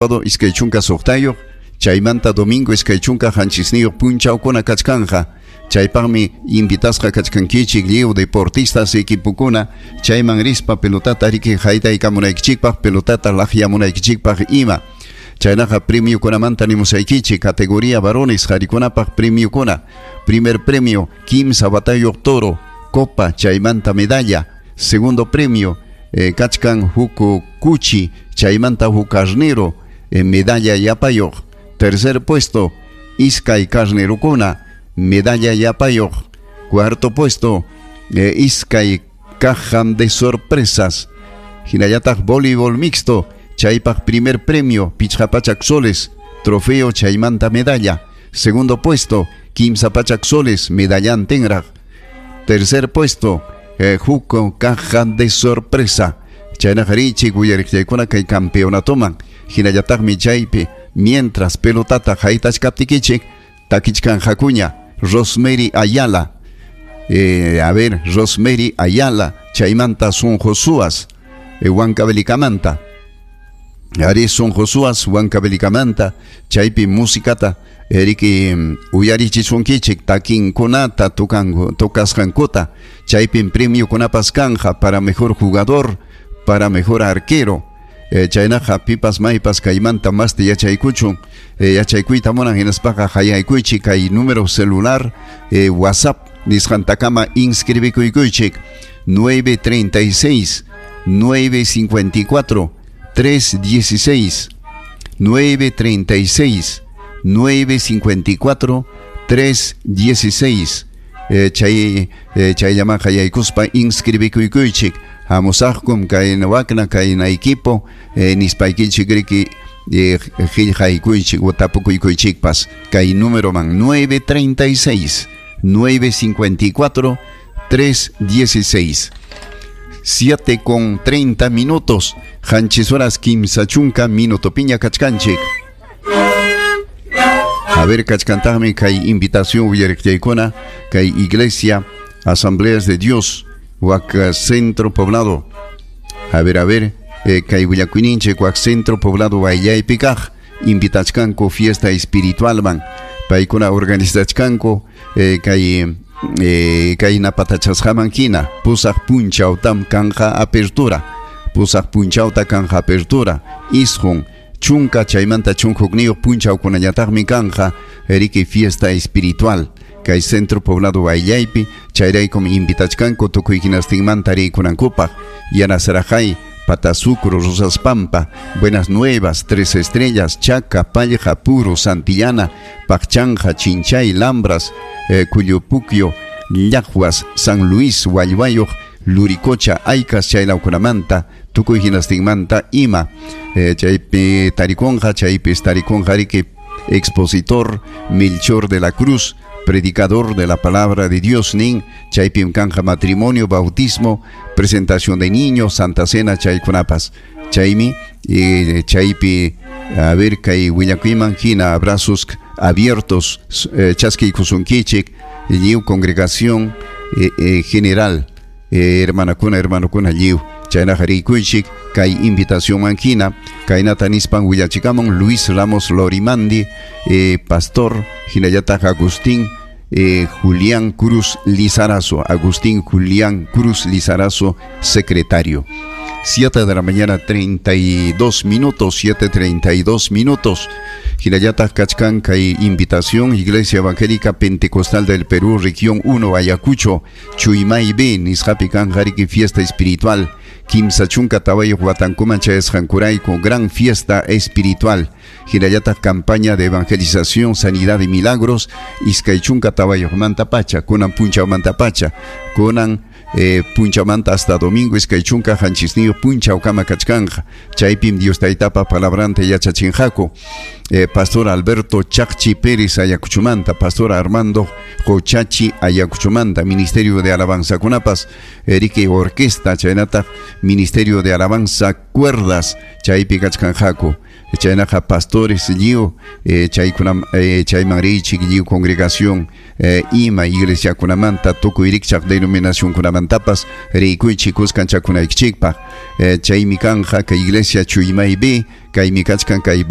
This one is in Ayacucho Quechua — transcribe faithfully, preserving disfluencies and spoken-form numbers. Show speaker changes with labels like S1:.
S1: Iskay chunka suqtayuq, chaymanta domingo iskay chunka qanchisniyuq punchawkuna kachkanja. Chaypaqmi invitasqa kachkankichik lliw deportistas equipokuna chayman rispa pelotata riki haytaykamunaykichikpaq, pelotata laqyamunaykichikpaq ima. Chaynaqa premiokunamanta nimusaykichik categoría varones qharikunapaq premiokuna. Primer premio kimsa watayuq toro, copa chaymanta medalla. Segundo premio eh, kachkan huk kuchi chaymanta huk carnero, eh, medalla yapayuq. Tercer puesto iskay carnerukuna, medalla yapayuq. Cuarto puesto eh, iskay caja de sorpresas. Hinallataq voleibol mixto chaypaq primer premio pichqa pachak soles, trofeo chaymanta medalla. Segundo puesto kimsa pachak soles, medallantinraq. Tercer puesto eh, huk caja de sorpresa. Chaynaqa riychik uyariqllaykuna kay campeonatoman. Hinallataqmi chaypi mientras pelotata haytachkaptikichik takichkanqakuña Rosemary Ayala. Eh, a ver, Rosemary Ayala, chaymanta Son Josuas, eh, Huancavelikamanta. Ari Son Josuas, Huancavelikamanta, chaypi musikata eriki uyarichisunkichik takinkunata tukanku tocasqankuta. Chaypim premiokunapas kanja para mejor jugador, para mejor arquero. Eh, chaynaqa pipas maypas kaymanta masta yachaykuchun, eh, yachaykuyta munan hinaspaqa hayaykuychik kay número celular, eh, WhatsApp nisqantakama inscribikuykuychik nueve treinta y seis nueve cincuenta y cuatro tres dieciséis, nueve treinta y seis nueve cincuenta y cuatro tres dieciséis. Eh, chay, eh, chayllaman hayaykuspa inscribikuykuychik. Hamusaqkum kayna wakna kayna equipo, eh, nispaykichik riki, eh, qillqaykuychik o tapukuykuychikpas kay número man nueve treinta y seis nueve cincuenta y cuatro tres dieciséis. Siete con treinta minutos, qanchis horas kimsa chunka minuto piña kachkanchik. A ver, kachkantaqmi kay invitación uyariqllaykuna kay Iglesia Asambleas de Dios wak Centro Poblado. A ver, a ver, eh, kay willakuyninchik wak Centro Poblado wayllaypi kaq invitachkanku fiesta espiritualman. Paykuna organizachkanku, eh, kay, eh, kay napatachasqaman hina pusaq punchawtam kanja apertura. Pusaq punchawta kanja apertura. Isqun chunka chaymanta chunka hukniyuq punchawkunañataqmi kanja riki fiesta espiritual kay Centro Poblado wayllaypi. Chayraykum invitachkanku tukuy hinastinmanta riykunankupaq. Yanasarajay, Patasucro, Rosas Pampa, Buenas Nuevas, Tres Estrellas, Chaca, Pallja, Puro, Santillana, Pacchanja, Chinchay, Lambras, eh, Cuyupuquio, Llajuas, San Luis, Hualluayoj, Luricocha, Aycas, chaylawkunamanta, tukuy hinastinmanta ima. Eh, chaypi tarikunqa, chaypi tarikunqa riki expositor Melchor de la Cruz, predicador de la palabra de Dios nin, chaypim kanja matrimonio, bautismo, presentación de niños, Santa Cena, chaykunapas. Chaymi, eh, chaypi, a ver, kay willakuyman hina, abrazos abiertos, eh, chaskiykusunkichik, lliw congregación, eh, eh, general, eh, hermanakuna, hermanokuna lliw. Chaynaqa rikuychik kay invitación manjina, kaynata nispan willachikamun Luis Ramos Lorimandi, eh, pastor, hinallataq Agustín, eh, Julián Cruz Lizarazo, Agustín Julián Cruz Lizarazo, secretario. Siete de la mañana, treinta y dos minutos, siete treinta y dos minutos. Hinallataq kachkan kay invitación, Iglesia Evangélica Pentecostal del Perú, Región uno, Ayacucho, Chuimay B, nisqapi kanja riki fiesta espiritual. Kimsa chunka tawayuq watankuman chayasqankurayku, gran fiesta espiritual. Hinallataq campaña de evangelización, sanidad y milagros, iskay chunka tawayuqmanta pacha, kunan punchawmanta pacha, kunan, eh, punchamanta hasta domingo iskay chunka qanchisniyuq punchawkama kachkanja. Chaypim Dios taytapa palabranta yachachinqaku. Eh, Pastor Alberto Chacchi Pérez Ayacuchumanta, Pastor Armando Jochachi Ayacuchumanta, Ministerio de Alabanza Kunapas, Erique Orquesta, chaynataq Ministerio de Alabanza Cuerdas, chaypi kachkanqaku. Chaynaqa pastores lliw eh, chaykunam eh, chayman riychik lliw congregación eh, ima iglesiakunamanta tukuy rikchaq denominacionkunamantapas riykuychik kuskanchakunaykichikpaq. eh, chaymi kanja kay iglesia Chuymaypi, kaymi kachkan kay